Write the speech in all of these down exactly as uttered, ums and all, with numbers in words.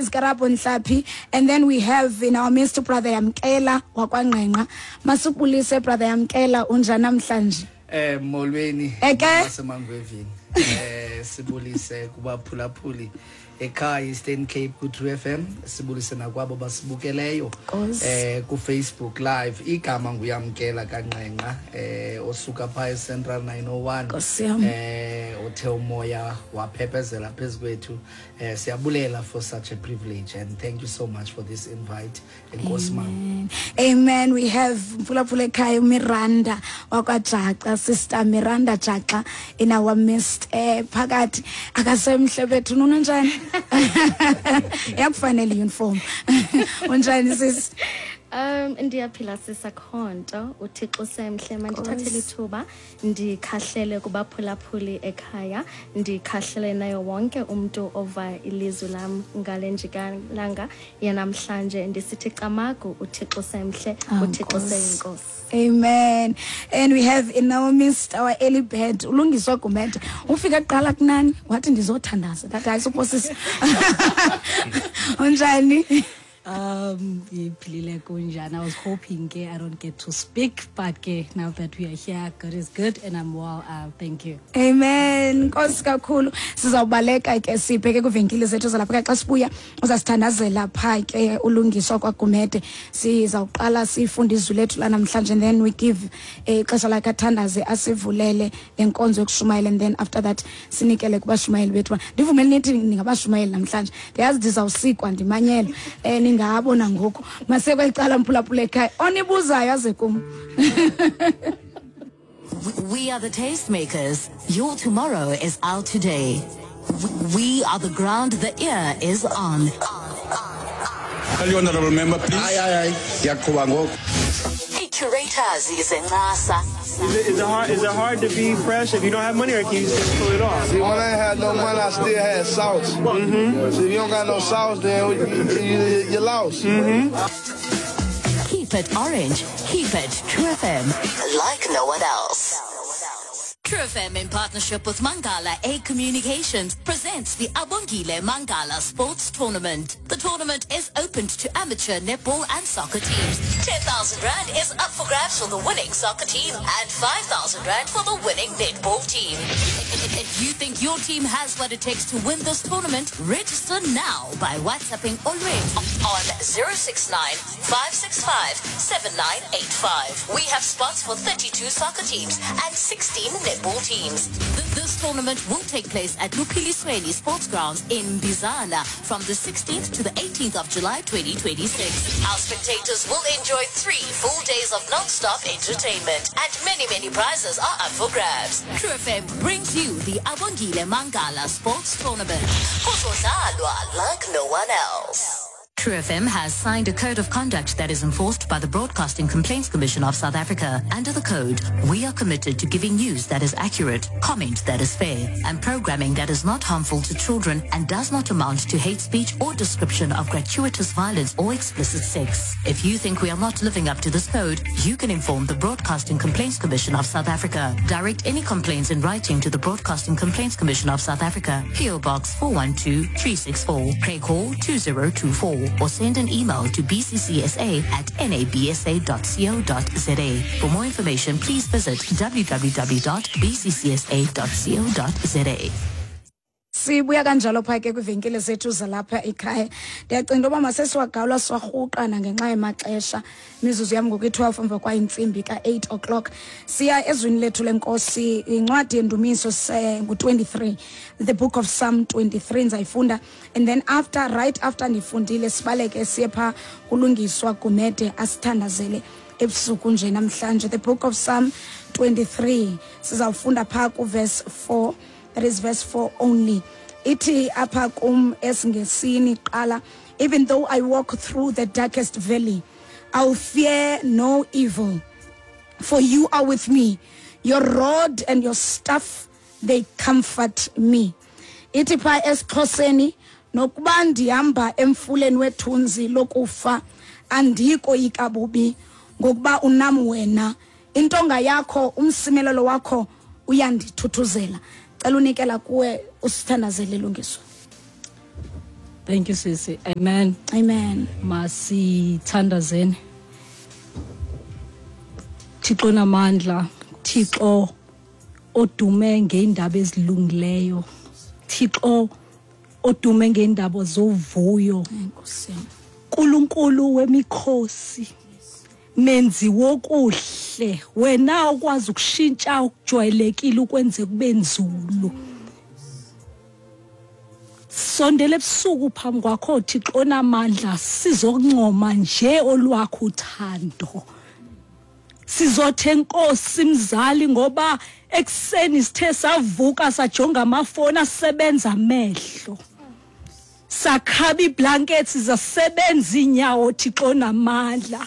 is Karabo Nhlapi, and then we have in our midst Brother Yamkela wakwaNgqenqa. Masubulise, Brother Yamkela, unjani namhlanje? Eh molweni Eke? basemangwevini. Eh sibulise kubaphulaphuli ekhaya Eastern Cape ku True F M, sibulise nakwabo basibukeleyo Nkosi. eh ku Facebook Live. Igama nguYamkela kaNqenqa, eh osuka pha eCentral nine oh one. Nkosi yam. eh othe umoya waphephezela phezukwethu. eh siyabulela for such a privilege and thank you so much for this invite. Enkosi, mama. Amen. We have mphulaphula ekhaya Miranda wakwaJaxa, Sister Miranda Jaxa in our midst. Eh phakathi akasemhle bethu, unjani? Yakufanele uniform. Unjani, sis? Um ndiyaphila sisakhonto, uThixo semhle. Mandithathele ithuba ndikhahlele kubaphulaphuli ekhaya, ndikhahlele nayo wonke umntu ova ilizwi lam ngale njikalanga yanamhlanje, ndisithi camagu, uThixo semhle. Ah, uThixo Nkosi. seyinkosi. Amen. And we have in our midst our early bird, uLungiswa Gumede. Ufika kuqala kunani, wathi ndizothandaza. Ndathi hayi, suphosisa. Unjani? Um, Ndiphilile, kunjani? I was hoping ke I don't get to speak, but ke now that we are here, God is good and I'm well. Uh, thank you. Amen. Nkosi kakhulu. Sizawubaleka ke sibheke kwivenkile zethu zalapha. Xa sibuya uzasithandazela pha ke uLungiswa kwaGumede. Sizawuqala sifunde izwi lethu la namhlanje and then we give eh, ixesha lakhe athandaze, asivulele le nkonzo yokushumayela, and then after that sinikele kubashumayeli bethu. Ndivumele nithi ningabashumayeli namhlanje. Ndiyazi ndizawusikwa ndimanyelwe. Eh ningabo nangoku. Masekwecala, mphulaphula ekhaya. Onibuzayo aze kum. We are the tastemakers. Your tomorrow is our today. We are the ground the ear is on. Tell you, honorable member, please. Hayi, hayi, hayi, ndiyaqhuba ngoku. Ii-curators zencasa. Is it, is it hard? Is it hard to be fresh if you don't have money, or can you just pull it off? See, when I ain't had no money, I still had sauce. Mm-hmm. See, if you don't got no sauce, then you, you, you lost. Mm-hmm. Keep it orange. Keep it True F M. Like no one else. True F M, in partnership with Mangala A Communications, presents the Abongile Mangala Sports Tournament. The tournament is open to amateur netball and soccer teams. ten thousand Rand is up for grabs for the winning soccer team and five thousand Rand for the winning netball team. If you think your team has what it takes to win this tournament, register now by WhatsApping Olwethu on zero six nine five six five seven nine eight five. We have spots for thirty-two soccer teams and sixteen netball teams. Th- This tournament will take place at Luphilisweni Sports Grounds in Bizana from the sixteenth to the eighteenth of July twenty twenty-six. Our spectators will enjoy three full days of non-stop entertainment and many, many prizes are up for grabs. True F M brings you the Abongile Mangala Sports Tournament. Kuzodlalwa like no one else. True F M has signed a code of conduct that is enforced by the Broadcasting Complaints Commission of South Africa. Under the code, we are committed to giving news that is accurate, comment that is fair, and programming that is not harmful to children and does not amount to hate speech or description of gratuitous violence or explicit sex. If you think we are not living up to this code, you can inform the Broadcasting Complaints Commission of South Africa. Direct any complaints in writing to the Broadcasting Complaints Commission of South Africa, P O. Box four one two three six four, Craighall two zero two four, or send an email to b c c s a at nabsa dot co dot za. For more information, please visit w w w dot b c c s a dot co dot za. Sibuya kanjalo pha ke kwivenkile zethu zalapha ekhaya. Ndiyacinga into yoba masesiwagawula siwarhuqana ngenxa yemaxesha. Imizuzu yam ngoku i-twelve emva kwayintsimbi ka-eight o'clock. Siya ezwini lethu lenkosi, incwadi yendumiso ngu-twenty-three, the book of Psalm twenty-three. Ndizayifunda and then after, right after ndifundile, sibaleke siye phaa kuLungiswa Gumede asithandazele ebusuku nje namhlanje. The book of Psalm twenty-three, sizawufunda phaa kuverse four, that is verse four only. Ithi apha kum esiNgesini qala: "Even though I walk through the darkest valley, I'll fear no evil, for you are with me. Your rod and your staff, they comfort me." Ithi pha esiXhoseni: "Nokuba ndihamba emfuleni wethunzi lokufa, andikoyika bubi, ngokuba unam wena. Intonga yakho, umsimelelo wakho uyandithuthuzela." Cela unikela kuwe usithandazele, Lungiswa. Thank you, sisi. Amen. Amen. Masithandazeni. Thixo namandla, Thixo odume ngeindaba ezilungileyo, Thixo odume ngeindaba zovuyo, Enkosi. Nkulunkulu wemikhosi, menzi wokuhle, wena okwazi ukushintsha okujwayelekile ukwenze kube nzulu. Sondele ebusuku phambi kwakho Thixo onamandla, sizokuncoma nje olwakho uthando. Sizothe Nkosi mzali, ngoba ekuseni sithe savuka sajonga amafoni asebenza amehlo, sakhaba iblankets zasebenza inyawo. Thixo namandla,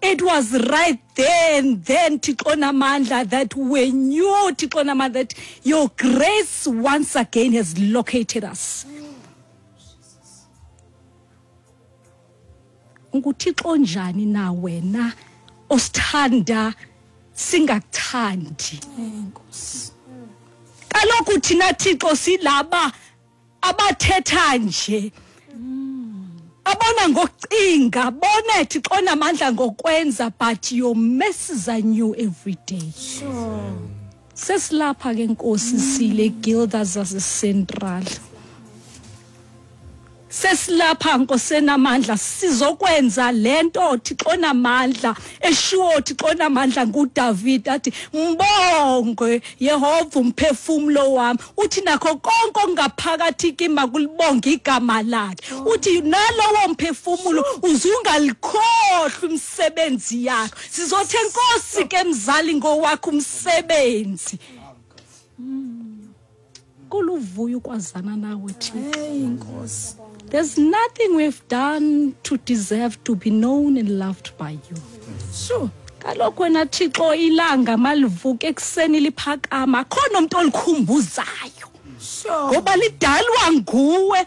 it was right then then Thixo namandla, that we knew, Thixo namandla, that your grace once again has located us. UnguThixo njani na wena osithanda singakuthandi? Enkosi. Kaloku thina Thixo silaba abathetha nje, abona ngokucinga, bona Thixo namandla ngokwenza, but your mercies are new every day. Sure. Sesilapha ke Nkosi, sile guilda zase Central. Sesilapha Nkosi enamandla, sizokwenza lento Thixo namandla eshiwo Thixo namandla nguDavid athi mbonge Yehova umphefumulo wami, uthi nakho konke okungaphakathi kimi makulibonge igama lakhe. Uthi nalowo mphefumulo uzungalikhohlwa imisebenzi yakho. Sizothe Nkosi ke mzali ngowakho umsebenzi. Kuluvuyo ukwazana nawe Thixo. Hey Nkosi. There's nothing we've done to deserve to be known and loved by you. Sure. Kaloku wena Thixo ilanga malivuke ekuseni liphakama, akhona umuntu olikhumbuzayo. Sure. Ngoba lidalwa nguwe,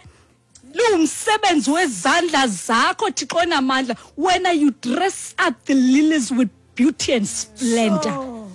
liwumsebenzi wezandla zakho Thixo namandla. Wena you dress up the lilies with beauty and splendor. Sure.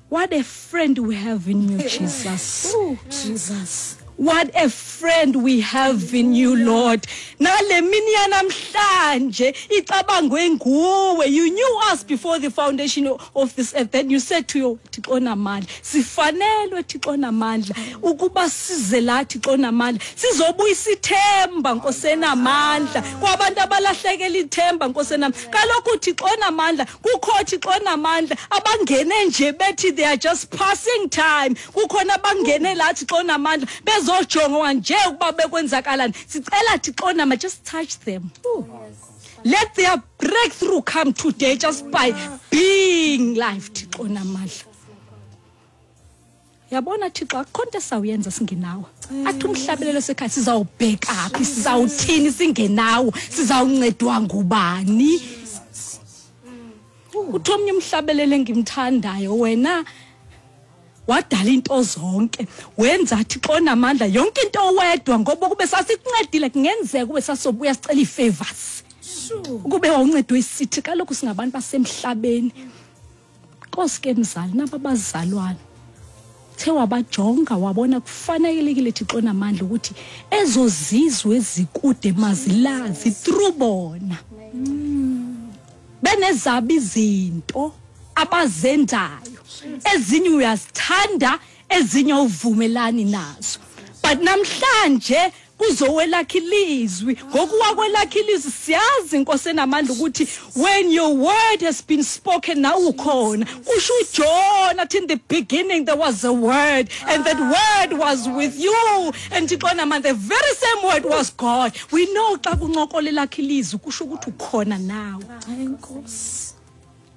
What a friend we have in you, Jesus. Ooh, Jesus. What a friend we have in you, Lord. Nale mini yanamhlanje icabangwe nguwe. You knew us before the foundation of this earth. Then you said to your Thixo namandla, sifanelwe Thixo namandla ukuba size la Thixo namandla, sizobuyisa ithemba Nkosi enamandla kwabantu abalahlekela ithemba Nkosi enamandla. Kaloku Thixo namandla, kukho Thixo namandla abangene nje bethi they are just passing time. Kukhona abangene la Thixo namandla bezojonga nje ukuba bekwenzakalani. Sicela Thixo namandla, just touch them. Let their breakthrough come today just by being life Thixo namandla. Yabona Thixo, akukho nto esawuyenza singenawo. Athi umhlabelelo sekhaya sizawubheka phi, sizawuthini singenawo, sizawuncedwa ngubani? Uthi omnye umhlabelelo engimthandayo, wena wadala into zonke, wenza Thixo namandla yonke into wedwa, ngoba kube sasikuncedile kungenzeka kube sasobuya sicela ii-favors. Ukube wawuncedwe isithi, kaloku singabantu basemhlabeni. Nkosi ke mzali, naba bazalwane the wabajonga wabona kufanelekile Thixo namandla ukuthi ezo zizwe ezikude mazilazi through bona. Benezabo izinto abazenzayo, ezinye uyazithanda, ezinye uvumelani nazo. But namhlanje kuzowelakha ilizwi. Ngokuwa kwelakha ilizwi siyazi Nkosi enamandla ukuthi when your word has been spoken, now ukhona. Kusho uJohn athi in the beginning there was a word, and that word was with you, and Thixo namandla, the very same word was God. We know xa kuncokola elakha ilizwi kusho ukuthi ukhona nawe. Enkosi.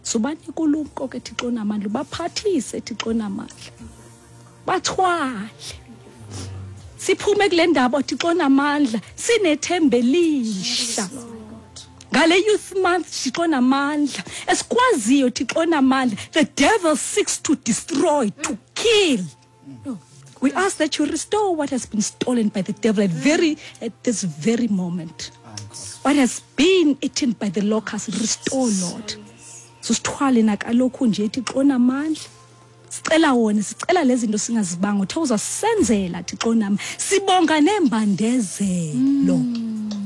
Subanika ulumko ke Thixo namandla, baphathise Thixo namandla, bathwale. Siphume kule ndaba Thixo namandla sinethemba elisha. Ngale youth month Thixo namandla esikwaziyo Thixo namandla, the devil seeks to destroy, to kill. We ask that you restore what has been stolen by the devil at very at this very moment. What has been eaten by the locusts, restore, Lord. Sisithwale nakalokhu nje Thixo namandla, Sicela wona, sicela lezi zinto singazibanga, uthe uzasenzela Thixo nami. Sibonga nembandezelo.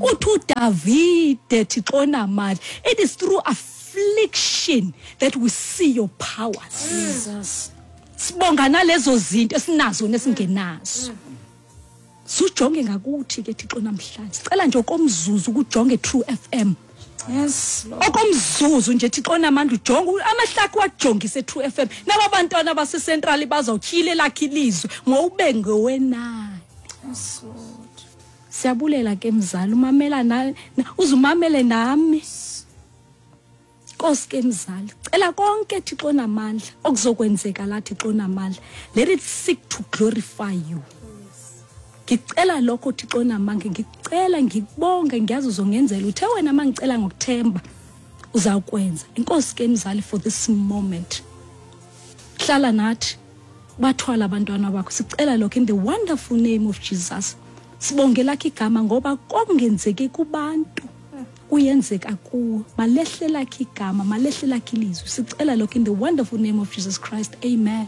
Uthi uDavide Thixo namandla, it is through affliction that we see your powers. Jesus. Sibonga nalezo zinto esinazo nesingenazo. Sujonge ngakuthi ke Thixo namhlanje. Sicela nje okomzuzu ukujonge True F M. Yes, Lord. Okomzuzu nje Thixo namandla ujonge amahlakho wajongise True F M. Naba bantwana base Central bazawutyhile lakhe ilizwe ngowube ngowenani. Yes, Lord. Siyabulela ke mzali, umamela na uzumamele nami. Nkosi ke mzali, cela konke Thixo namandla okuzokwenzeka la Thixo namandla. Let it seek to glorify you. Ngicela lokho Thixo namandla, ngicela ngikubonge, ngiyazi uzongenzela. Uthe wena mangicela ngokuthemba uzawukwenza. Inkosi ke mzali for this moment. Hlala nathi, bathwala abantwana bakho. Sicela lokho in the wonderful name of Jesus. Sibonge lakhe igama ngoba kongenzeki kubantu kuyenzeka kuwe. Malehle lakhe igama, malehle lakhe ilizwi. Sicela lokho in the wonderful name of Jesus Christ. Amen.